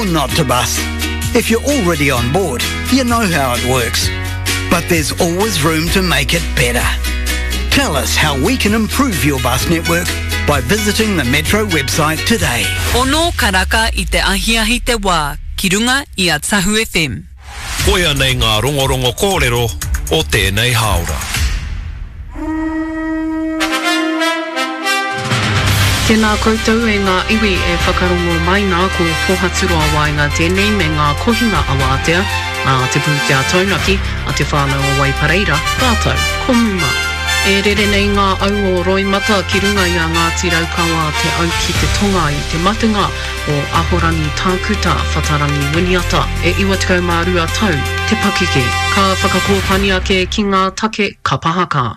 Or not to bus. If you're already on board, you know how it works. But there's always room to make it better. Tell us how we can improve your bus network by visiting the Metro website today. Ono karaka i te ahiahi te wā ki runga i a Tahu FM. Koia nei ngā rongorongo kōrero o tēnei hāora. Tēnā koutou e ngā iwi e whakarongo mai nā ko Pohaturoa Waenga tēnei me ngā kohinga awātea nā Te Pūtea Taunaki a Te Whānau o Waipareira rātou ko Muma. E rere nei ngā au o roimata ki runga i a Ngāti Raukawa Te Au ki te Tonga i te matenga o Ahorangi Tākuta Whatarangi Winiata, e 92 tau te pakeke. Ka whakakōpani ake ki ngā take kapa haka.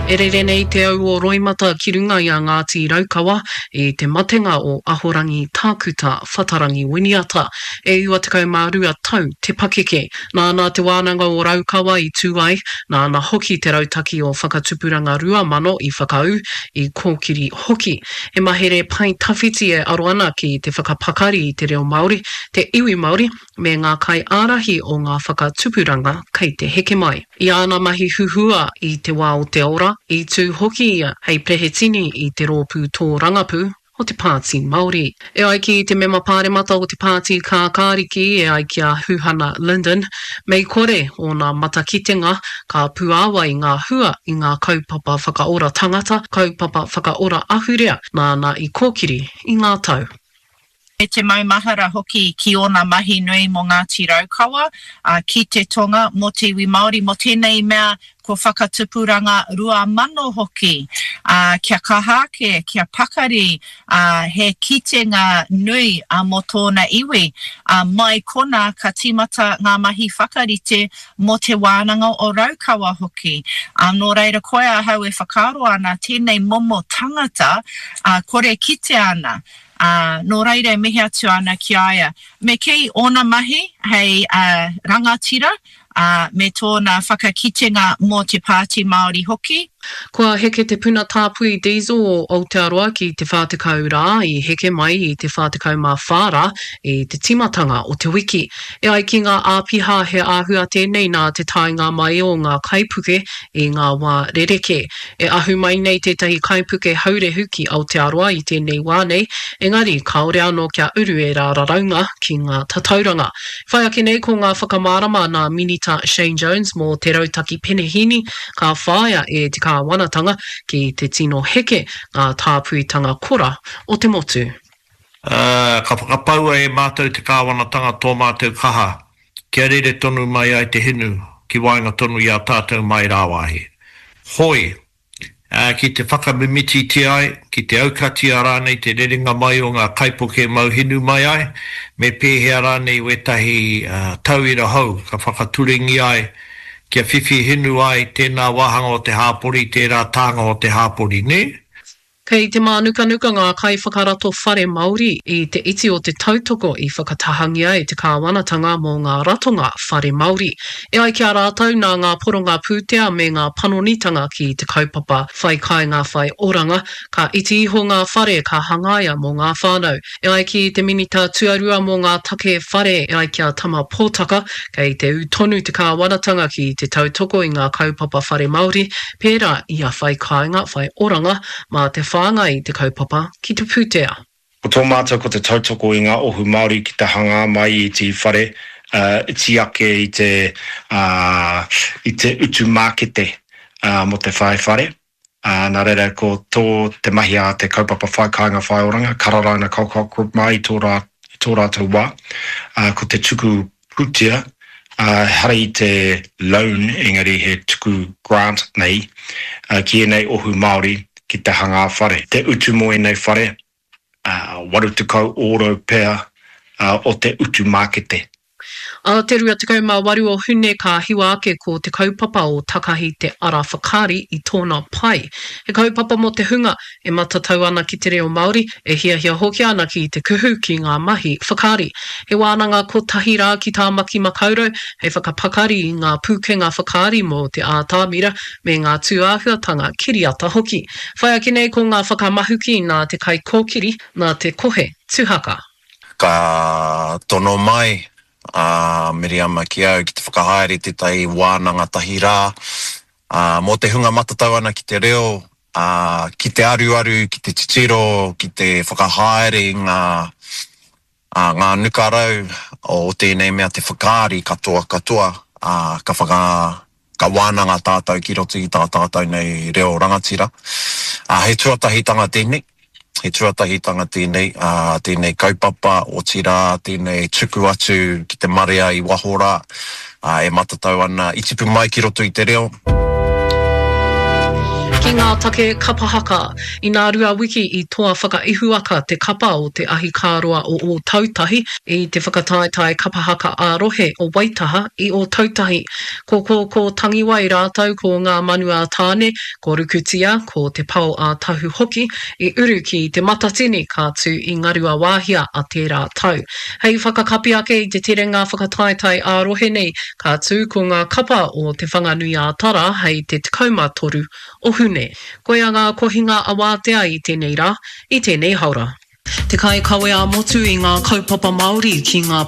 E rere nei te au o roimata ki runga i a Ngāti Raukawa i te matenga o Ahorangi Tākuta Whatarangi Winiata, e 92 tau te pakeke. Nāna Te Wānanga o Raukawa i tū ai, nāna hoki te rautaki o Whakatupuranga 2000 i whakaū, i kōkiri hoki. He mahere pae tawhiti e aro ana ki te whakapakari i te reo Māori, te iwi Māori, me ngā kaiārahi o ngā whakatupuranga kei te heke mai. I āna mahi huhua i te wā o te ora, i tū hoki ia hei perehetini i te rōpū tōrangapū, o te Pāti Māori. E ai ki te mema pāremata o te Pāti Kākāriki e ai ki a Huhana Lyndon, mei kore ōna matakitenga, ka puāwai ngā hua i ngā kaupapa whakaora tangata, kaupapa whakaora ahurea nāna i kōkiri i ngā tau. Me te maumahara hoki ki ōna mahi nui mō Ngāti Raukawa, ki te tonga, mō te iwi Māori, mō tēnei mea ko Whakatupuranga 2000 hoki, ā, kia kaha ake, kia pakari, ā, he kitenga nui mō tōna iwi. Ā, mai konā ka tīmata ngā mahi whakarite mō Te Wānanga o Raukawa hoki. Ā, nō reira koia ahau e whakaaro ana tēnei momo tangata, ā, kore kitea ana. Ā, nō reira e mihi atu ana ki a ia. Me kī ōna mahi hei rangatira, ā, me tōna whakakitenga mō te Pāti Māori hoki. Kua heke te puna tāpui diesel o Aotearoa ki te 40 rā, i heke mai i te 44 rā i te tīmatanga o te wiki. E ai ki ngā āpiha he āhua tēnei nā te taenga mai o ngā kaipuke i ngā wā rerekē. E ahu mai nei tētahi kaipuke haurehu ki Aotearoa i tēnei wā nei, engari kāore anō kia uru ērā raraunga ki ngā tatauranga. Whai ake nei ko ngā whakamārama nā Minita Shane Jones mō te rautaki penehīni ka whāia e te kāwanatanga ki te tino heke ngā tāpuitanga kora o te motu. Ā, ka whakapaua e mātou te kāwanatanga tō mātou kaha kia rere tonu mai ai te hinu ki waenga tonu i a tātou mai rāwāhi. Hoi, ā, ki te whakamimititia ai, ki te aukatia rānei te rerenga mai o ngā kaipuke mau hinu mai ai, me pēhea rānei wētahi tauira hou ka whakaturengia ai kia whiwhi hinu ai tēnā wāhanga o te hāpori, tērā tānga o te hāpori, nē? Kei te mānukanuka ngā kaiwhakarato whare Māori i te iti o te tautoko i whakatahangia e te kāwanatanga mō ngā ratonga whare Māori. E ai ki a rātou nā ngā poronga pūtea me ngā panonitanga ki te kaupapa Whai Kāinga Whai Oranga, ka iti iho ngā whare ka hangaia mō ngā whānau. E ai ki te Minita Tuarua mō ngā Take Whare e ai ki a Tama Potaka, kei te ū tonu te kāwanatanga ki te tautoko i ngā kaupapa whare Māori, pērā i a Whai Kāinga, Whai Oranga, mā te whāngai i te kaupapa ki te pūtea. Ko tō mātou ko te tautoko i ngā ohu Māori ki te hangā mai i te whare iti ake i te i te utu mākete mō te whai whare. Ā, nā reira, ko tō te mahi a te kaupapa Whai Kāinga Whai Oranga, Kararaina Colcock Group mā i tō rā, i tō rātou wā, ā, ko te tuku pūtea, ā, ehara i te loan, engari he tuku grant nei, ā, ki ēnei ohu Māori ki te hangā whare. Te utu mō ēnei whare, ā, 80 ōrau pea, ā, o te utu mākete. Ā te 28 o Hune ka hiwa ake ko te kaupapa o Takahi te Ara Whakaari i tōna pae. He kaupapa mō te hunga e matatau ana ki te reo Māori, e hiahia hoki ana ki te kuhu ki ngā mahi whakaari. He wānanga kotahi rā ki Tāmaki Makaurau hei whakapakari i ngā pūkenga whakaari mō te ātamira me ngā tūāhuatanga kiriata hoki. Whai ake nei ko ngā whakamahuki nā te kaikōkiri, nā te kohe tuhaka. Ka tono mai a Miriama ki au ki te whakahaere tētahi wānanga tahi rā, ā, mō te hunga matatau ana ki te reo, ā, ki te aruaru, ki te titiro, ki te whakahaere i ngā, ā, ngā nukarau o tēnei mea te whakaari katoa katoa, ā, ka whaka, ka wānanga tātou ki roto i tā tātou nei reo rangatira. Ā, he tuatahitanga tēnei, he tuatahitanga tēnei, ā, tēnei kaupapa, otirā, tēnei tuku atu ki te marea i waho rā, ā, e matatau ana, i tipu mai ki roto i te reo. Ki ngā take kapa haka, inā rua wiki i toa whakaihuwaka te kapa o te ahikāroa o Ōtautahi i te whakataetae kapa haka ā-rohe o Waitaha i Ōtautahi. Ko Kōkō Tangiwai rātou ko Ngā Manu a Tāne, ko Rukutia, ko Te Pao a Tahu hoki i uru ki Te Matatini ka tū i Ngaruawāhia a tērā tau. Hei whakakapi ake i te terenga whakataetae ā-rohe nei, ka tū ko ngā kapa o Te Whanganui-ā-Tara hei te 13 o Hune. Koia ngā kohinga awātea i tēnei rā, i tēnei haora. Te kaikawe ā-motu i ngā kaupapa Māori ki ngā.